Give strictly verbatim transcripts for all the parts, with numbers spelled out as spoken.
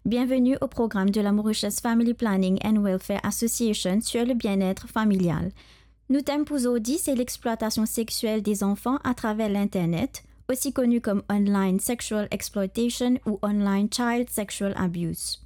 Bienvenue au programme de la Mauritius Family Planning and Welfare Association sur le bien-être familial. Nou tem pou zordi se l'exploitation sexuelle des enfants à travers l'Internet, aussi connu comme online sexual exploitation ou online child sexual abuse.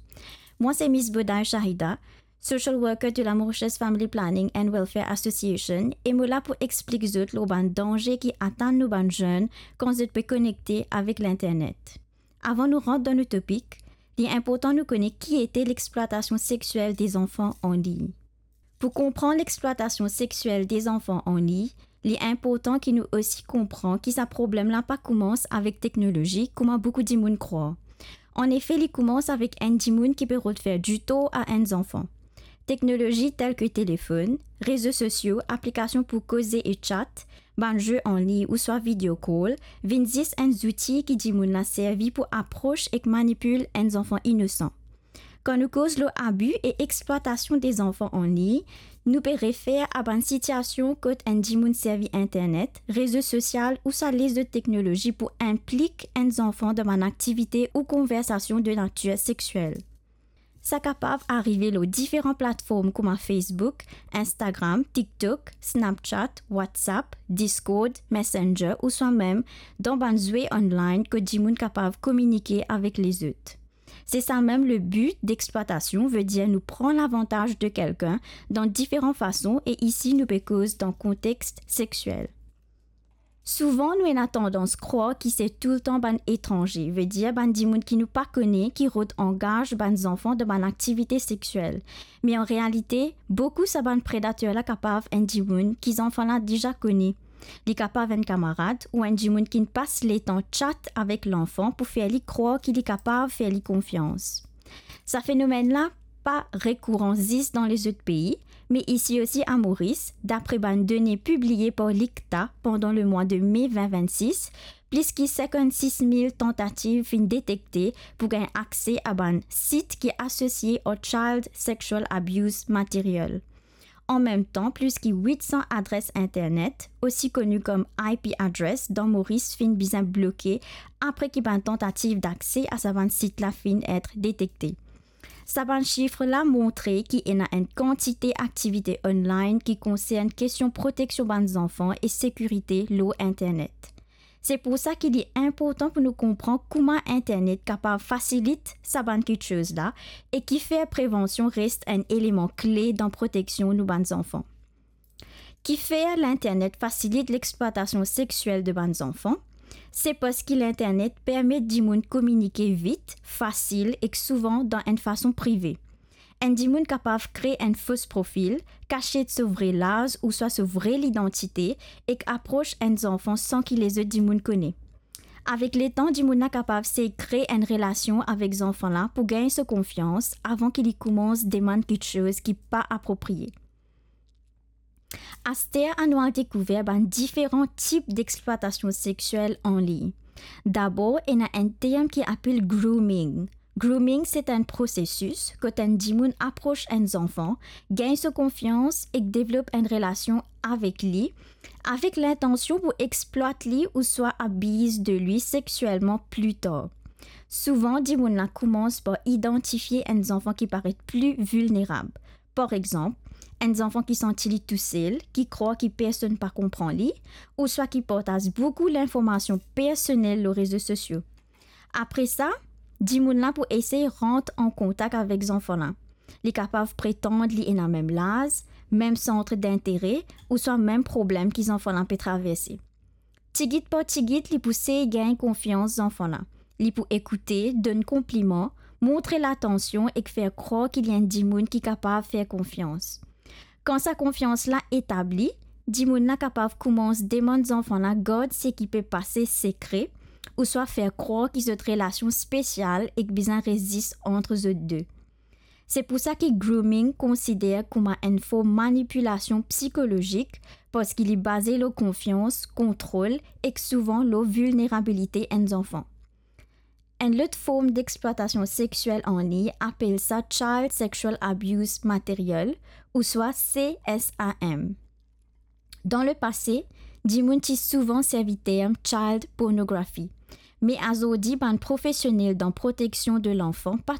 Mwa se Miss Boday Shahida, social worker de la Mauritius Family Planning and Welfare Association, e mo la pou explik zot lor bann danze ki atann nou bann zenn kan zot pe konekte avek Linternet. Avan nou rant dan nou topik, li inportan nou kone ki ete l'exploitation sexuelle des enfants en ligne. Pou konpran l'exploitation sexuelle des enfants en ligne, li inportan ki nou osi konpran ki sa problem la pa koumans avek teknolozi, kouma boukou dimoun krwar. Anefe, li koumans avek enn dimoun ki pe rod fer ditor a enn zanfan. Teknolozi tel ki telefonn, rezo sosio, aplikasion pou koze e chat, bann ze an ligne ouswa video call, vinn zis enn zouti ki dimoun la servi pou apros ek manipil enn zanfan inosan. Kan nou koz lor abi e explwatasion de zanfan an ligne, nou pe refer a bann sitiasion kot enn dimoun servi Internet, rezo sosial ouswa lezot teknolozi pou inplik enn zanfan dan bann aktivite ou konversasion de natir sexiel. Sa kapav arive lor diferan platform kouma Facebook, Instagram, TikTok, Snapchat, WhatsApp, Discord, Messenger ouswa mem dan bann zwe online kot dimoun kapav kominike avek lezot. Se sa mem le bi de explwatasion, vedir nou pran lavantaz de kelkenn dan diferan fason, e isi nou pe koz dan kontex sexiel. Souvan nou ena tandans krwar ki se toultan bann etranze, vedir bann dimoun ki nou pa kone, ki rod angaz bann zanfan dan bann aktivite sexiel. Me an realite, boukou sa bann predater la kapav enn dimoun ki zanfan la deza kone. Li kapav enn kamarad ou enn dimoun ki'nn pas letan chat avek lanfan pou fer li krwar ki li kapav fer li konfians. Sa fenomenn la pa rekouran zis dan lezot pei, me isi osi a Moris, dapre bann done pibliye par l'ICTA pandan lemwa de me vin vinn-sis, plis ki sinkant-sis mil tantativ finn detekte pou gagn akse a bann sit ki asosie ar child sexual abuse material. An mem tan, plis ki wit san adres Internet, osi koni kom I P address, dan Moris finn bizin bloke apre ki bann tantativ dakse a sa bann sit la finn et detekte. Sa bann sif la montre ki ena enn kantite aktivite online ki konsern kestion proteksion bann zanfan e sekirite lor Internet. Se pou sa ki li inportan pou nou konpran kouma Internet kapav fasilit sa bann kiksoz la e kifer prevansion res enn eleman kle dan proteksion nou bann zanfan. Kifer Linternet fasilit lexplwatasion sexiel de bann zanfan? Se parski Linternet permet dimoun kominike vit, fasil ek souvan dan enn fason prive. Enn dimoun kapav kre enn fos profil, kasiet so vre laz ouswa so vre lidantite ek apros enn zanfan san ki lezot dimoun kone. Avek letan, dimoun la kapav sey kre enn relasion avek zanfan la pou gagn so konfians avan ki li koumans demann kiksoz ki pa apropriye. Aster, anou al dekouver bann diferan tip dexplwatasion sexiel an ligne. Dabor, ena enn term ki apel grooming. Grooming, se enn prosesis kot enn dimoun apros enn zanfan, gagn so konfians ek devlop enn relasion avek li, avek lintansion pou explwat li ouswa abiz de li sexielman pli tar. Souvan, dimoun la koumans par idantifie enn zanfan ki paret pli vilnerab. Par exanp, enn zanfan ki santi li tousel, ki krwar ki personn pa konpran li, ouswa ki partaz boukou linformasion personel lor rezo sosio. Apre sa, dimoun la pou esey rant an kontak avek zanfan la. Li kapav pretann li ena mem laz, mem sant dintere, ouswa mem problem ki zanfan la pe traverse. Tigit par tigit, li pou sey gagn konfians zanfan la. Li pou ekoute, donn konpliman, montre latansion ek fer krwar ki li enn dimoun ki kapav fer konfians. Kan sa konfians la etabli, dimoun la kapav koumans demann zanfan la gard seki pe pase sekre, ouswa fer krwar ki zot relasion spesial ek bizin res zis ant zot de. Se pou sa ki grooming konsider kouma enn form manipilasion psikolozik, parski li baze lor konfians, kontrol ek souvan lor vilnerabilite enn zanfan. Enn lot form dexplwatasion sexiel an ligne apel sa Child Sexual Abuse Material, ouswa C S A M. Dan lepase, dimoun ti souvan servi term child pornography, me azordi bann profesionel dan proteksion de lanfan pa